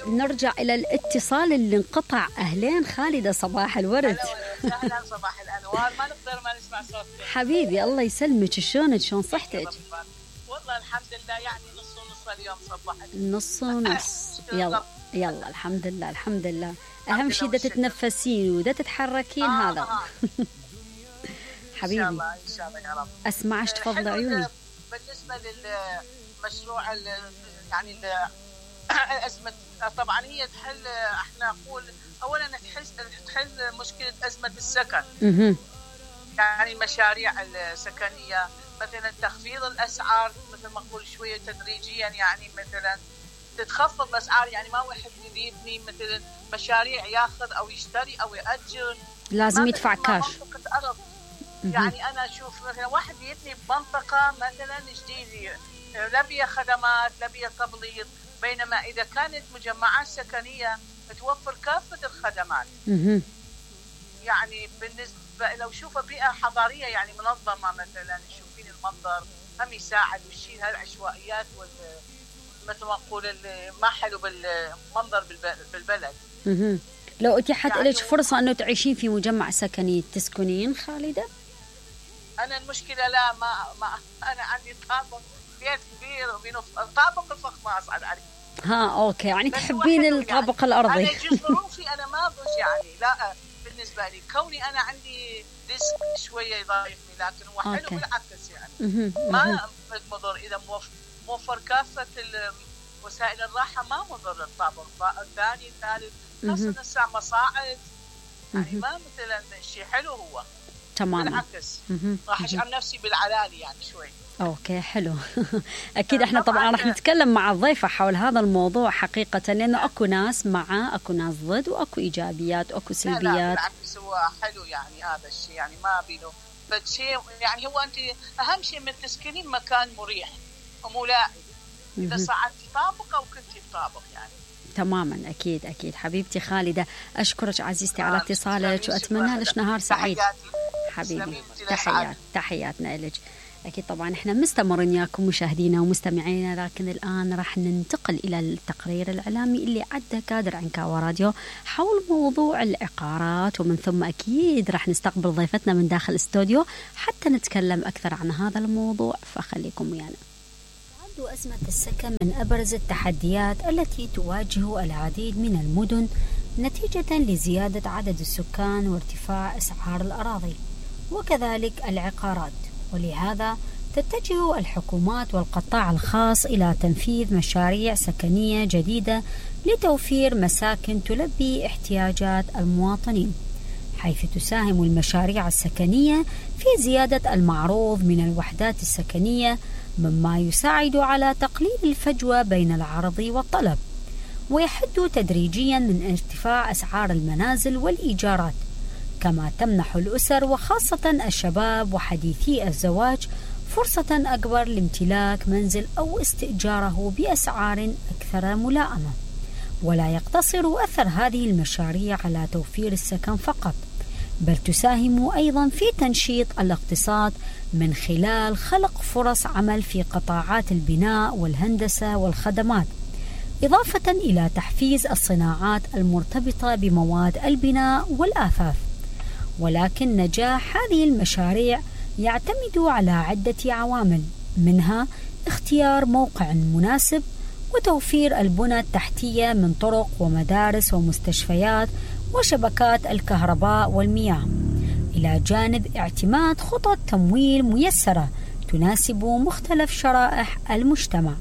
نرجع إلى الاتصال اللي انقطع. أهلين خالدة، صباح الورد. أهلا صباح الأنوار. ما نقدر ما نسمع صوتك حبيبي الله يسلمك. شلونك؟ شلون صحتك؟ والله الحمد لله، يعني نص ونص اليوم صبحت. نص ونص. يلا الحمد لله الحمد لله. أهم شيء دا تتنفسين ودا تتحركين هذا. حبيبي إن شاء الله يا رب. أسمعش، تفضل عيوني. بالنسبة للمشروع يعني أزمة، طبعا هي تحل، احنا نقول أولا تحل مشكلة أزمة السكن. يعني المشاريع السكنية مثلا تخفيض الأسعار مثل ما نقول شوية تدريجيا، يعني مثلا تتخفض الأسعار، يعني ما واحد يبني مثلا مشاريع ياخذ أو يشتري أو يأجر لازم يدفع كاش. يعني أنا أشوف مثلا واحد يبني بمنطقة مثلا جديدة لا بيها خدمات لا بيها تبليط، بينما إذا كانت مجمعات سكنية توفر كافة الخدمات. يعني بالنسبة لو شوفوا بيئة حضارية يعني منظمة مثلا، يشوفين المنظر هم يساعد ويشيل هالعشوائيات مثل ما نقول ما حلو بالمنظر بالبلد. لو اتيحت يعني لك فرصة أنه تعيشين في مجمع سكني تسكنين خالدة؟ أنا المشكلة لا ما أنا عندي طابق بيت كبير طابق الفخ ما أصعد عليه. أوكي، يعني تحبين الطابق يعني الأرضي. أنا ظروفي أنا ما بش يعني لا، بالنسبة لي كوني أنا عندي رزق شوية يضايقني، لكن هو حلو بالعكس يعني ما مضر إذا موفر كافة وسائل الراحة، ما مضر الطابق الثاني الثالث، خاصة الساعة مصاعد يعني ما مثلا شيء حلو هو تماما. بالعكس راح أشعر نفسي بالعلالي يعني شوي. أوكي حلو. أكيد إحنا طبعا راح نتكلم مع الضيفة حول هذا الموضوع حقيقة، لأنه أكو ناس مع أكو ناس ضد وأكو إيجابيات وأكو سلبيات. لا بالعكس هو حلو يعني هذا الشيء، يعني ما بينه فشيء، يعني هو أنت أهم شيء من تسكنين مكان مريح وملائم، إذا صعدتي طابق أو كنتي بطابق يعني. تماما أكيد أكيد. حبيبتي خالدة أشكرك عزيزتي على اتصالك وأتمنى لك نهار سعيد. حبيبي تحياتنا لك. أكيد طبعا إحنا مستمرين ياكم مشاهدينا ومستمعينا، لكن الآن راح ننتقل إلى التقرير الإعلامي اللي عده كادر عنكاوى راديو حول موضوع العقارات، ومن ثم أكيد راح نستقبل ضيفتنا من داخل الاستوديو حتى نتكلم أكثر عن هذا الموضوع، فخليكم ويانا. تعد أزمة السكن من أبرز التحديات التي تواجه العديد من المدن نتيجة لزيادة عدد السكان وارتفاع أسعار الأراضي وكذلك العقارات، ولهذا تتجه الحكومات والقطاع الخاص إلى تنفيذ مشاريع سكنية جديدة لتوفير مساكن تلبي احتياجات المواطنين، حيث تساهم المشاريع السكنية في زيادة المعروض من الوحدات السكنية، مما يساعد على تقليل الفجوة بين العرض والطلب، ويحد تدريجيا من ارتفاع أسعار المنازل والإيجارات، كما تمنح الأسر وخاصة الشباب وحديثي الزواج فرصة أكبر لامتلاك منزل أو استئجاره بأسعار أكثر ملائمة. ولا يقتصر أثر هذه المشاريع على توفير السكن فقط، بل تساهم أيضا في تنشيط الاقتصاد من خلال خلق فرص عمل في قطاعات البناء والهندسة والخدمات، إضافة إلى تحفيز الصناعات المرتبطة بمواد البناء والآثاث. ولكن نجاح هذه المشاريع يعتمد على عدة عوامل، منها اختيار موقع مناسب وتوفير البنى التحتية من طرق ومدارس ومستشفيات وشبكات الكهرباء والمياه، إلى جانب اعتماد خطط تمويل ميسرة تناسب مختلف شرائح المجتمع.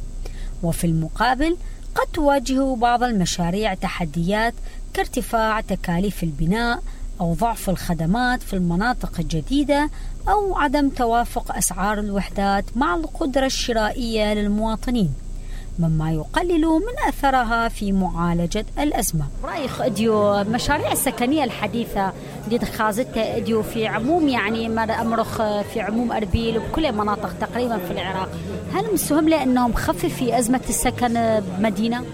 وفي المقابل قد تواجه بعض المشاريع تحديات كارتفاع تكاليف البناء أو ضعف الخدمات في المناطق الجديدة أو عدم توافق أسعار الوحدات مع القدرة الشرائية للمواطنين، مما يقلل من أثرها في معالجة الأزمة. رأيك أديو المشاريع السكنية الحديثة اللي خازتها أديو في عموم يعني أمرخ في عموم أربيل وبكل مناطق تقريبا في العراق، هل مسهم له أنه مخفف في أزمة السكن بمدينة؟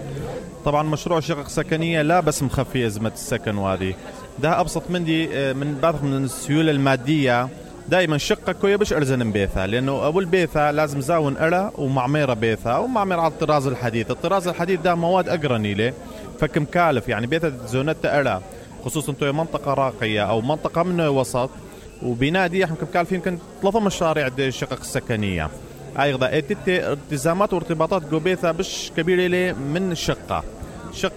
طبعا مشروع شقق سكنية لا بس مخفي أزمة السكن، وهذه ده أبسط من بعض من السيولة المادية. دائما شقة كوية بش أرزن بيثها، لأنه أبو البيثة لازم زاون أرى ومعميرة بيثها ومعميرة على الطراز الحديث. الطراز الحديث ده مواد أقرني له فكمكالف يعني بيت زونتا أرى خصوصا توي منطقة راقية أو منطقة من وسط وبنادي احنا كمكالفين يمكن 3 مشاريع دي الشقق السكنية أيضا التزامات وارتباطات جوبيثا بش كبيرة لي من الشقة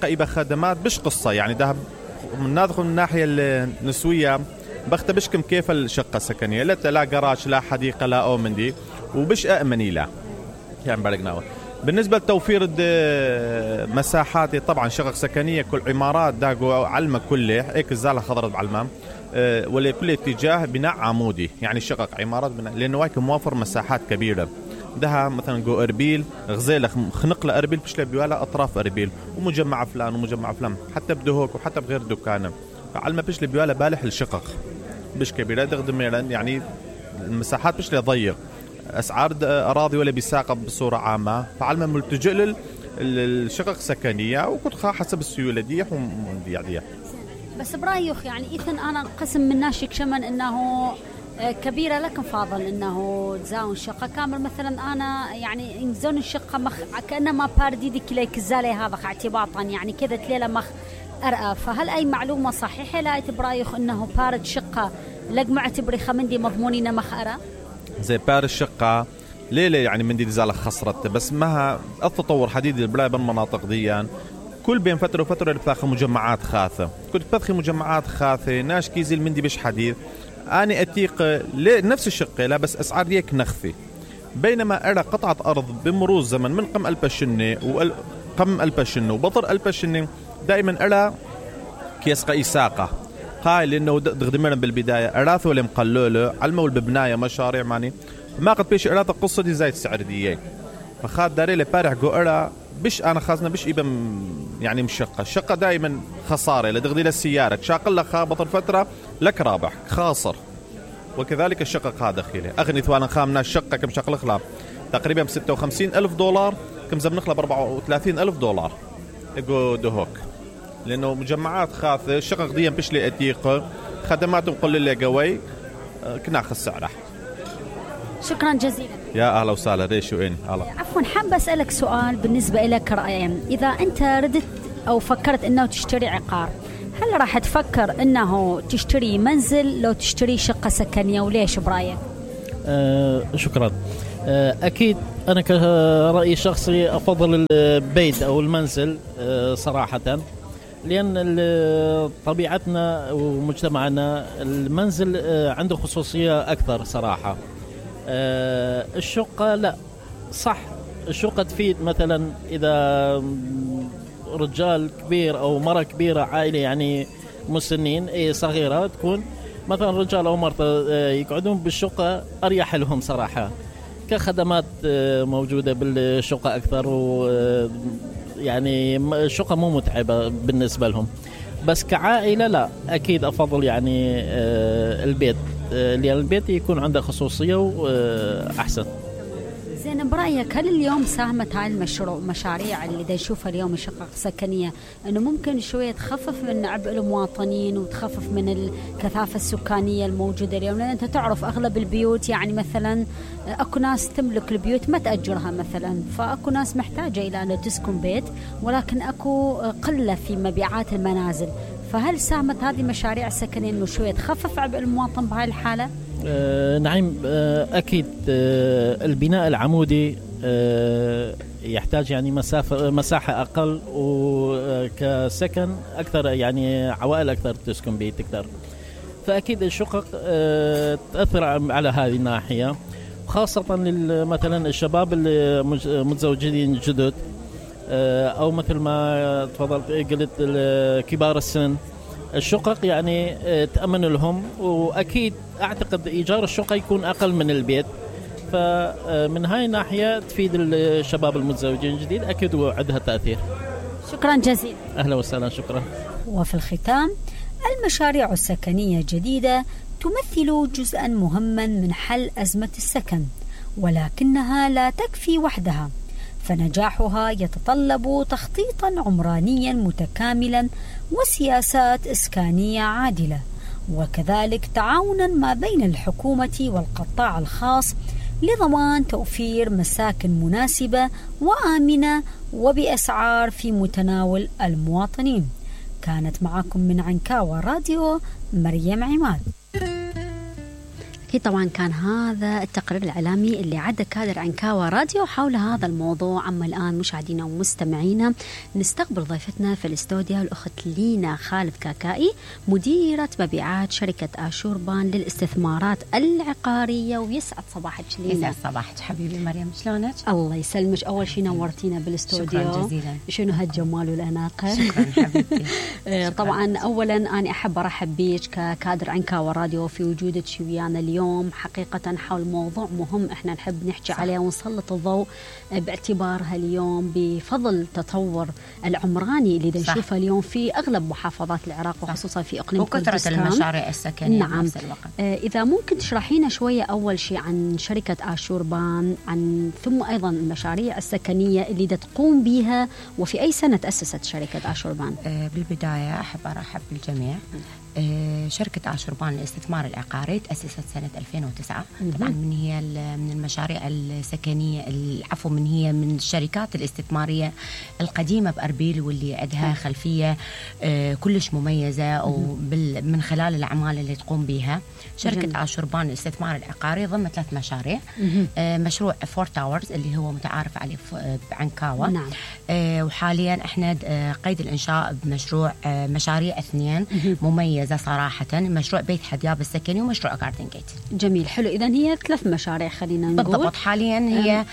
إبا خدمات بش قصة يعني ده من نادخل من الناحية النسوية بختبش كم كيف الشقة السكنية لا جراج لا حديقة لا أو من دي وبش أأمني لا يعني بلقناه. بالنسبة لتوفير مساحات طبعا شقق سكنية كل عمارات داقوا علمة كله هيك الزالة خضرت بعلمام ولكل اتجاه بناء عمودي يعني شقق عمارات بناء لأنه هيك موفر مساحات كبيرة ده مثلا جو أربيل غزيلة خنق لأربيل بش لبيوالا أطراف أربيل ومجمع فلان ومجمع فلان حتى بدهوك وحتى بغير دكانة فعلمة بش لبيوالا بالح الشقق بش كبيرة دغدميرا يعني المساحات بش لضيق أسعار أراضي ولا بيساقة بصورة عامة فعلما ملتجئ للشقق السكنية وكنت حسب السيولة دي يعني بس برايك يعني إذن أنا قسم من ناشك شمن إنه كبيرة لكن فاضل إنه تزاون شقة كامل مثلا أنا يعني زون الشقة كأنما بارديدي كليك الزالي هذا اعتباطا يعني كذا تليلة مخ أرأى فهل أي معلومة صحيحة لا برايك إنه بارد شقة لق معتبري خمندي مضمونين مخ أرأى زي بار الشقة ليلة يعني من دي زالة خسرت بس مها التطور حديد البلاي بالمناطق ديان كل بين فترة وفترة بتاخذ مجمعات خاثة كنت بدخل مجمعات خاثة ناش كيزيل من دي بش حديث أنا أتيق نفس الشقة لا بس أسعار يك نخفي بينما أرى قطعة أرض بمرور زمن من قم البشنة وقم البشنة وبطر البشنة دائما أرى كيسقى إساقة هاي لأنه دغدمنا بالبداية أراث ولا مقلوله علموا بالبناية مشاريع ماني ما قد بيش أراث القصة دي زي السعر دي فخاد داري لبارح جو أرى بش أنا خازنا بش إبا يعني مشقة الشقة دائما خسارة لدغدي للسيارة شاقل لك خابط الفترة لك رابح خاسر وكذلك الشقق هذا داخله أغني ثوانا خامنا الشقة كم شقل خلاب تقريبا $56,000 كم زم نخلب $34,000 يقول دهوك لأنه مجمعات خاثة الشقق دي بش لي أتيق خدماتهم قل لي قوي كناخذ سعره. شكرا جزيلا يا أهلا وسهلا ريشو إن عفوا حابة أسألك سؤال بالنسبة لك رأيين إذا أنت ردت أو فكرت أنه تشتري عقار هل راح تفكر أنه تشتري منزل لو تشتري شقة سكنية وليش برأيك؟ شكرا. أكيد أنا كرأي شخصي أفضل البيت أو المنزل صراحة لأن طبيعتنا ومجتمعنا المنزل عنده خصوصية أكثر صراحة. الشقة لا صح الشقة تفيد مثلا إذا رجال كبير أو مرة كبيرة عائلة يعني مسنين صغيرة تكون مثلا رجال أو مرة يقعدون بالشقة أريح لهم صراحة كخدمات موجودة بالشقة أكثر يعني الشقة مو متعبة بالنسبة لهم بس كعائلة لا أكيد أفضل يعني البيت لأن البيت يكون عنده خصوصية وأحسن. زين برأيك هل اليوم ساهمت هاي المشاريع اللي دا نشوفها اليوم الشقق السكنية أنه ممكن شوية تخفف من عبء المواطنين وتخفف من الكثافة السكانية الموجودة اليوم لأن أنت تعرف أغلب البيوت يعني مثلا أكو ناس تملك البيوت ما تأجرها مثلا فأكو ناس محتاجة إلى أن تسكن بيت ولكن أكو قلة في مبيعات المنازل فهل ساهمت هذه المشاريع السكنية أنه شوية تخفف عبء المواطن بهاي الحالة؟ نعم أكيد البناء العمودي يحتاج يعني مساحة أقل وكسكن أكثر يعني عوائل أكثر تسكن به تقدر فأكيد الشقق تأثر على هذه الناحية خاصة مثلا الشباب اللي متزوجين جدد أو مثل ما تفضلت قلت كبار السن الشقق يعني تأمن لهم وأكيد أعتقد إيجار الشقة يكون أقل من البيت فمن هاي الناحية تفيد الشباب المتزوجين جديد أكيد وعندها تأثير. شكرا جزيلا. أهلا وسهلا شكرا. وفي الختام المشاريع السكنية الجديدة تمثل جزءا مهما من حل أزمة السكن ولكنها لا تكفي وحدها فنجاحها يتطلب تخطيطا عمرانيا متكاملا وسياسات إسكانية عادلة وكذلك تعاونا ما بين الحكومة والقطاع الخاص لضمان توفير مساكن مناسبة وآمنة وبأسعار في متناول المواطنين. كانت معكم من عنكاوى راديو مريم عماد. أكيد طبعا كان هذا التقرير الإعلامي اللي عد كادر عنكاوى راديو حول هذا الموضوع. أما الآن مشاهدينا ومستمعينا نستقبل ضيفتنا في الاستوديو الأخت لينا خالد كاكائي، مديرة مبيعات شركة آشوربان للاستثمارات العقارية. ويسعد صباحك لينا. يسعد صباحك حبيبي مريم، شلونك؟ الله يسلمك. أول شيء نورتينا بالاستوديو. شكرا جزيلا. شنو هالجمال والأناقة. شكرا حبيبتي. طبعا أولا أنا أحب أرحب بيك ككادر عنكاوى راديو في وجودك ويانا اليوم حقيقة حول موضوع مهم احنا نحب نحكي عليه ونسلط الضوء باعتبارها اليوم بفضل التطور العمراني اللي نشوفه اليوم في أغلب محافظات العراق وخصوصا في إقليم كردستان وكثرة المشاريع السكنية. نعم. بنفس الوقت. إذا ممكن تشرحينا شوية أول شيء عن شركة آشوربان ثم أيضا المشاريع السكنية اللي تقوم بها وفي أي سنة تأسست شركة آشوربان؟ بالبداية أحب أرحب بالجميع. شركة آشوربان للاستثمار العقاري تأسست سنة 2009. طبعا من المشاريع السكنية من هي من الشركات الاستثمارية القديمة بأربيل واللي عندها خلفية كلش مميزة من خلال الأعمال اللي تقوم بها. شركة آشوربان للاستثمار العقاري ضمن 3 مشاريع. مشروع 4 تاورز اللي هو متعارف عليه بعنكاوى. نعم. وحاليا احنا قيد الإنشاء بمشروع مشاريع 2 مميزة صراحة، مشروع بيت حدياب السكني ومشروع جاردن جيت. جميل، حلو. إذن هي 3 مشاريع خلينا نقول. بالضبط. حاليا هي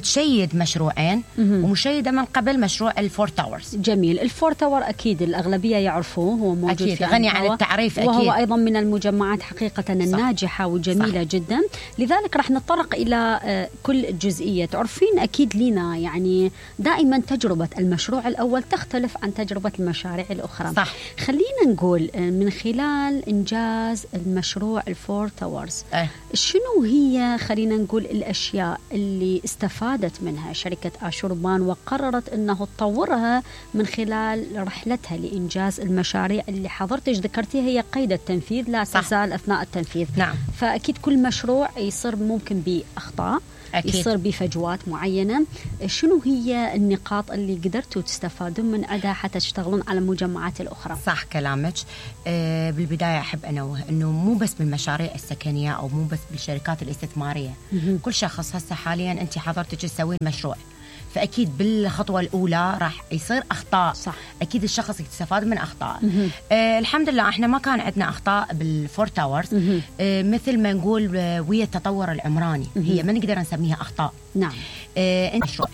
تشيد مشروعين ومشيدة من قبل مشروع الفور تاورز. جميل. الفور تاور أكيد الأغلبية يعرفوه، هو موجود أكيد في غني عن التعريف أكيد، وهو أيضا من المجمعات حقيقة الناجحة وجميلة جدا. لذلك راح نتطرق إلى كل جزئية. تعرفين أكيد لينا يعني دائما تجربة المشروع الأول تختلف عن تجربة المشاريع الأخرى. صح. خلينا نقول من خلال إنجاز المشروع الفور تاورز شنو هي خلينا نقول الأشياء اللي استفادت منها شركة آشوربان وقررت أنه تطورها من خلال رحلتها لإنجاز المشاريع اللي حضرتك ذكرتيها هي قيد التنفيذ لا تزال أثناء التنفيذ. نعم. فأكيد كل مشروع يصير ممكن بأخطاء أكيد. يصير بفجوات معينة. شنو هي النقاط اللي قدرتوا تستفادون من عندها حتى تشتغلون على المجمعات الأخرى؟ صح كلامك. بالبداية أحب أنوه أنه مو بس بالمشاريع السكنية أو مو بس بالشركات الاستثمارية. كل شخص هسه حاليا أنت حضرتك تسوين مشروع، فأكيد بالخطوة الأولى راح يصير أخطاء. صح. أكيد الشخص يستفاد من أخطاء. الحمد لله إحنا ما كان عندنا أخطاء بالفور تاورز. مثل ما نقول ويا التطور العمراني هي ما نقدر نسميها أخطاء. نعم. مشروع